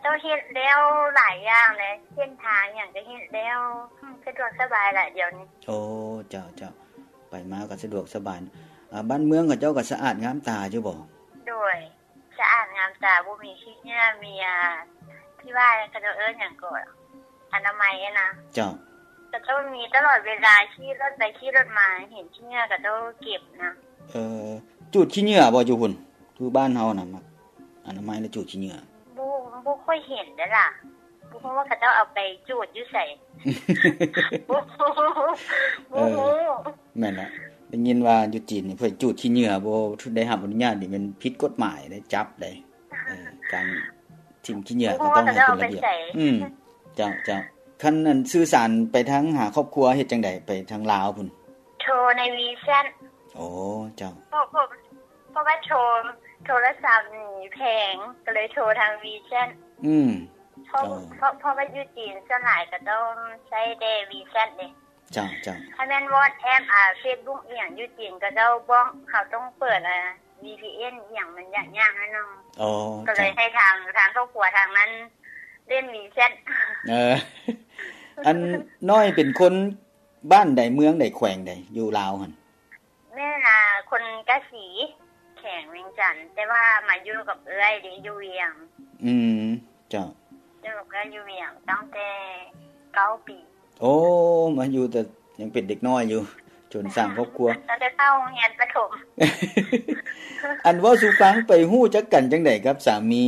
ກໍເຮັດແລ້ວຫຼາຍຢ່າງແຫຼະ ເສັ້ນທາງຫຍັງກໍເຮັດແລ້ວ ສະດວກສະບາຍຫຼາຍດຽວນີ້. ໂອ້ ເຈົ້າ ເຈົ້າ ໄປມາກໍສະດວກສະບາຍ. ອາ ບ້ານເມືອງເຂົາເຈົ້າກໍສະອາດງາມຕາຢູ່ບໍ່? ໂດຍ ສະອາດງາມຕາ ບໍ່ມີຂີ້ເຫຍື້ອ ມີ ອາ ທີ່ວ່າເຂົາເຈົ້າເອີ້ນຫຍັງກໍ ອະນາໄມຫັ້ນນະ. ເຈົ້າ ເຂົາເຈົ້າມີຕະຫຼອດເວລາ ຂີ່ລົດໄປຂີ່ລົດມາ ເຫັນຂີ້ເຫຍື້ອເຂົາເຈົ້າເກັບນະ. ເອີ ຈູດຂີ້ເຫຍື້ອບໍ່ຢູ່ພຸ້ນ? ຄືບ້ານເຮົານະ ມັກອະນາໄມແລ້ວຈູດຂີ້ເຫຍື້ອ. ບໍ່ ບໍ່ຄ່ອຍເຫັນເດ້ລະ ບໍ່ຮູ້ວ່າເຂົາເຈົ້າເອົາໄປຈູດຢູ່ໃສ. ບໍ່ ບໍ່ຮູ້. ເອີ ແມ່ນລະ ໄດ້ຍິນວ່າຢູ່ຈີນນີ້ເພິ່ນຈູດຂີ້ເຫຍື້ອ ບໍ່ໄດ້ຮັບອະນຸຍາດນີ້ແມ່ນຜິດກົດໝາຍເດ້ ຈັບເດ້. ເອີ ການຖິ້ມຂີ້ເຫຍື້ອກໍຕ້ອງໃຫ້ເປັນລະບຽບ. ອືມ ເຈົ້າ ເຈົ້າ. ຄັນອັນສື່ສານໄປທາງຫາຄອບຄົວເຮັດຈັ່ງໃດ? ໄປທາງລາວພຸ້ນ? ໂທໃນ WeChat. ໂອ້ ເຈົ້າ. ເພາະ ເພາະ ເພາະວ່າໂທ ໂທລະສັບນີ້ແພງ ກໍເລີຍໂທທາງ WeChat. ອືມ ເພາະ ເຈົ້າ ເພາະ ເພາະວ່າຢູ່ຈີນສ່ວນຫຼາຍກໍຕ້ອງໃຊ້ແຕ່ WeChat ເດ້. ເຈົ້າ ເຈົ້າ. ຖ້າແມ່ນ WhatsApp ອາ Facebook ອີ່ຫຍັງຢູ່ຈີນ ເຂົາເຈົ້າບອກເຮົາຕ້ອງເປີດ ອາ VPN ອີ່ຫຍັງ ມັນຍາກໆໜ້ອຍໜຶ່ງ. ອໍ ກໍເລີຍໃຫ້ທາງ ທາງຄອບຄົວທາງນັ້ນຫຼິ້ນ WeChat. ເອີ ອັນນ້ອຍເປັນຄົນບ້ານໃດ ເມືອງໃດ ແຂວງໃດ ຢູ່ລາວຫັ້ນ? ແມ່ນ ອາ ຄົນກາສີ ແຂວງວຽງຈັນ ແຕ່ວ່າມາຢູ່ກັບເອື້ອຍເດ້ ຢູ່ວຽງ. ອືມ ເຈົ້າ. ຢູ່ກັບເອື້ອຍຢູ່ວຽງຕັ້ງແຕ່ເກົ້າປີ. ໂອ້ ມາຢູ່ແຕ່ຍັງເປັນເດັກນ້ອຍຢູ່ ຈົນສ້າງຄອບຄົວ ຕັ້ງແຕ່ເຂົ້າໂຮງຮຽນປະຖົມ. ອັນເວົ້າສູ່ຟັງ ໄປຮູ້ຈັກກັນຈັ່ງໃດກັບສາມີ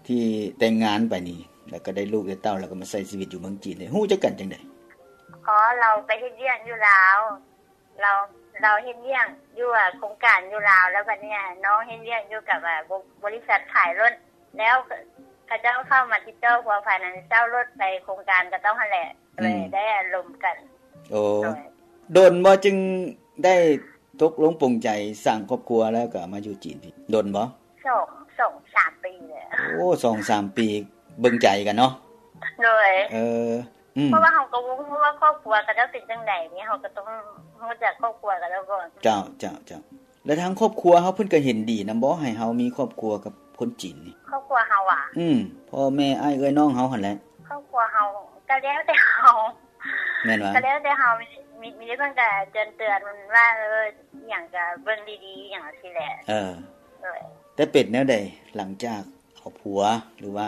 ທີ່ແຕ່ງງານໄປນີ້ ແລ້ວກໍໄດ້ລູກໄດ້ເຕົ້າ ແລ້ວກໍມາໃຊ້ຊີວິດຢູ່ເມືອງຈີນນີ້ ຮູ້ຈັກກັນຈັ່ງໃດ? ອໍ ລາວໄປເຮັດວຽກຢູ່ລາວ ລາວ ລາວເຮັດວຽກຢູ່ ອາ ໂຄງການຢູ່ລາວ ແລ້ວບັດນີ້ນ້ອງເຮັດວຽກຢູ່ກັບ ອາ ບໍ ບໍລິສັດຂາຍລົດ ແລ້ວເຂົາເຈົ້າເຂົ້າມາຕິດຕໍ່ພົວພັນ ອັນເຊົ່າລົດໄປໂຄງການກະຕ້ອງຫັ້ນແຫຼະ ອືມ ເລີຍໄດ້ລົມກັນ. ໂອ້ ໂດຍ ດົນບໍ່ຈຶ່ງໄດ້ຕົກລົງປົງໃຈສ້າງຄອບຄົວ ແລ້ວກໍມາຢູ່ຈີນນີ້ ດົນບໍ່? ສອງ ສອງສາມປີແລ້ວ. ໂອ້ ສອງສາມປີເບິ່ງໃຈກັນເນາະ. ໂດຍ ເອີ ອືມ ເພາະວ່າເຮົາກໍບໍ່ຮູ້ວ່າຄອບຄົວເຂົາເຈົ້າເປັນຈັ່ງໃດນີ້ ເຮົາກໍຕ້ອງຮູ້ຈັກຄອບຄົວເຂົາເຈົ້າກ່ອນ. ເຈົ້າ ເຈົ້າ ເຈົ້າ. ແລ້ວທາງຄອບຄົວເຮົາເພິ່ນກໍເຫັນດີນຳບໍ່ ໃຫ້ເຮົາມີຄອບຄົວກັບຄົນຈີນນີ້? ຄອບຄົວເຮົາຫວາ? ອືມ ພໍ່ແມ່ ອ້າຍເອື້ອຍນ້ອງເຮົາຫັ້ນແຫຼະ. ຄອບຄົວເຮົາກໍແລ້ວແຕ່ເຮົາ. ແມ່ນຫວາ? ກໍແລ້ວແຕ່ເຮົາ ມີ ມີ ມີແຕ່ເພິ່ນກໍເຕືອນໆວ່າ ເອີ ອີ່ຫຍັງກໍເບິ່ງດີໆ ອີ່ຫຍັງຊີ້ແຫຼະ. ເອີ ໂດຍ. ແຕ່ເປັນແນວໃດ ຫຼັງຈາກເອົາຜົວ ຫຼືວ່າ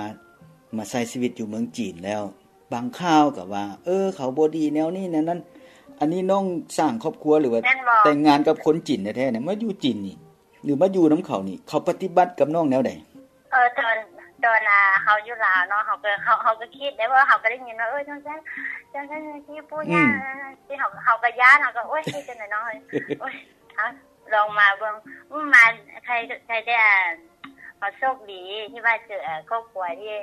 ມາໃຊ້ຊີວິດຢູ່ເມືອງຈີນແລ້ວ ບາງຂ່າວກໍວ່າ ເອີ ເຂົາບໍ່ດີແນວນີ້ແນວນັ້ນ. ອັນນີ້ນ້ອງສ້າງຄອບຄົວ ຫຼືວ່າແຕ່ງງານກັບຄົນຈີນແທ້ໆນີ້ ມາຢູ່ຈີນນີ້ ຫຼືມາຢູ່ນຳເຂົານີ້ ເຂົາປະຕິບັດກັບນ້ອງແນວໃດ? ເອີ ຕອນ ຕອນ ອາ ເຮົາຢູ່ລາວເນາະ ເຮົາກໍ ເຮົາ ເຮົາກໍຄິດໄດ້ ເພາະວ່າເຮົາກໍໄດ້ຍິນວ່າ ເອີ ຈັ່ງຊັ້ນ ຈັ່ງຊັ້ນ ຈັ່ງຊີ້ ປູ່ຍ່າ ອືມ ຈັ່ງຊີ້ ເຮົາ ເຮົາກໍຢ້ານ ເຮົາກໍ ໂອ້ຍ ເຮັດຈັ່ງໃດເນາະ ໂອ້ຍ ເອົາ ລອງມາເບິ່ງ ອືມ ມາ ໃຄ ໃຄແຕ່ ເຮົາໂຊກດີທີ່ວ່າເຈີ ເອີ ຄອບຄົວທີ່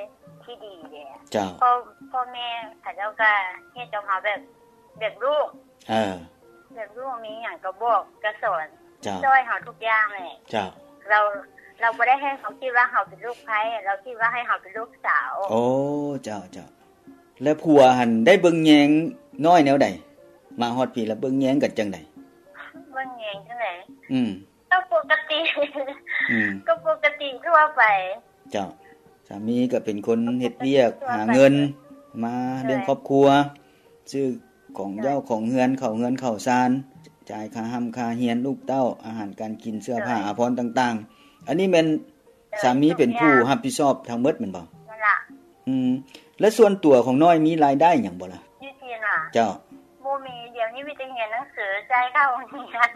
ທີ່ດີເດ້. ເຈົ້າ. ພໍ່ ພໍ່ແມ່ເຂົາເຈົ້າກໍເຮັດກັບເຮົາແບບ ແບບລູກ ເອີ ແບບລູກ ມີຫຍັງກໍບອກກໍສອນ. ເຈົ້າ. ຊ່ອຍເຮົາທຸກຢ່າງແຫຼະ. ເຈົ້າ. ລາວ ລາວບໍ່ໄດ້ໃຫ້ເຮົາຄິດວ່າເຮົາເປັນລູກໃພ້ ລາວຄິດວ່າໃຫ້ເຮົາເປັນລູກສາວ. ໂອ້ ເຈົ້າ ເຈົ້າ. ແລ້ວຜົວຫັ້ນໄດ້ເບິ່ງແຍງນ້ອຍແນວໃດ? ມາຮອດພີ້ແລ້ວເບິ່ງແຍງກັນຈັ່ງໃດ? ເບິ່ງແຍງຈັ່ງໃດ? ອືມ. ກໍປົກກະຕິ. ອືມ. ກໍປົກກະຕິທົ່ວໄປ. ເຈົ້າ. ສາມີກໍເປັນຄົນເຮັດວຽກຫາເງິນມາລ້ຽງຄອບຄົວ ຊື້ຂອງເຈົ້າຂອງເຮືອນ ເຂົ້າເຮືອນເຂົ້າຊານ ຈ່າຍຄ່າຮ່ຳຄ່າຮຽນລູກເຕົ້າ ອາຫານການກິນ ເສື້ອຜ້າອາພອນຕ່າງໆ. ອັນນີ້ແມ່ນສາມີເປັນຜູ້ຮັບຜິດຊອບທັງໝົດແມ່ນບໍ່? ນັ້ນລະ. ອືມ ແລະ ສ່ວນຕົວຂອງນ້ອຍມີລາຍໄດ້ຫຍັງບໍ່ລະ? ຢູ່ຈີນຫວາ? ເຈົ້າ. ບໍ່ມີ ດຽວນີ້ມີແຕ່ຮຽນໜັງສື ຈ່າຍຄ່າໂຮງຮຽນ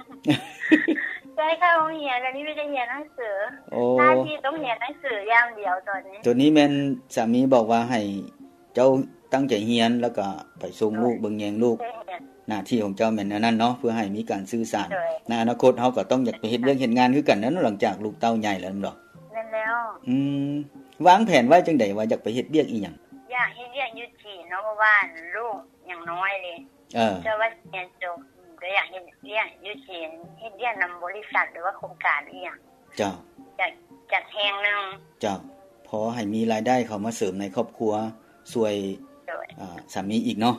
ຈ່າຍຄ່າໂຮງຮຽນ ດຽວນີ້ມີແຕ່ຮຽນໜັງສື. ໂອ້ ໜ້າທີ່ຕ້ອງຮຽນໜັງສືຢ່າງດຽວຕອນນີ້. ໂຕນີ້ແມ່ນສາມີບອກວ່າໃຫ້ເຈົ້າຕັ້ງໃຈຮຽນ ແລ້ວກໍໄປສົ່ງລູກ ເບິ່ງແຍງລູກ ໜ້າທີ່ຂອງເຈົ້າແມ່ນອັນນັ້ນເນາະ ເພື່ອໃຫ້ມີການສື່ສານ. ໃນອະນາຄົດເຮົາກໍຕ້ອງຢາກໄປເຮັດວຽກເຮັດງານຄືກັນນັ້ນ ຫຼັງຈາກລູກເຕົ້າໃຫຍ່ແລ້ວແມ່ນບໍ່? ແມ່ນແລ້ວ. ອືມ ວາງແຜນໄວ້ຈັ່ງໃດວ່າຢາກໄປເຮັດວຽກອີ່ຫຍັງ? ຢາກເຮັດວຽກຢູ່ຈີນເນາະ ເພາະວ່າລູກຍັງນ້ອຍເດ້. ເອີ ເຈົ້າວ່າຮຽນຈົບ ກໍຢາກເຮັດວຽກຢູ່ຈີນ ເຮັດວຽກນຳບໍລິສັດ ຫຼືວ່າໂຄງການອີ່ຫຍັງ. ເຈົ້າ. ຈາກ ຈາກແຫ່ງໜຶ່ງ. ເຈົ້າ. ພໍໃຫ້ມີລາຍໄດ້ເຂົ້າມາເສີມໃນຄອບຄົວ ຊ່ວຍ ໂດຍ ອາ ສາມີອີກເນາະ.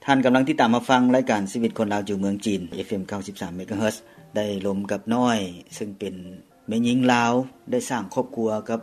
ທ່ານກຳລັງຕິດຕາມຮັບຟັງລາຍການຊີວິດຄົນລາວຢູ່ເມືອງຈີນ ເອັຟເອັມ ເກົ້າສິບສາມ ເມກາເຮີດ ໄດ້ລົມກັບນ້ອຍ ເຊິ່ງເປັນແມ່ຍິງລາວ ໄດ້ສ້າງຄອບຄົວກັບ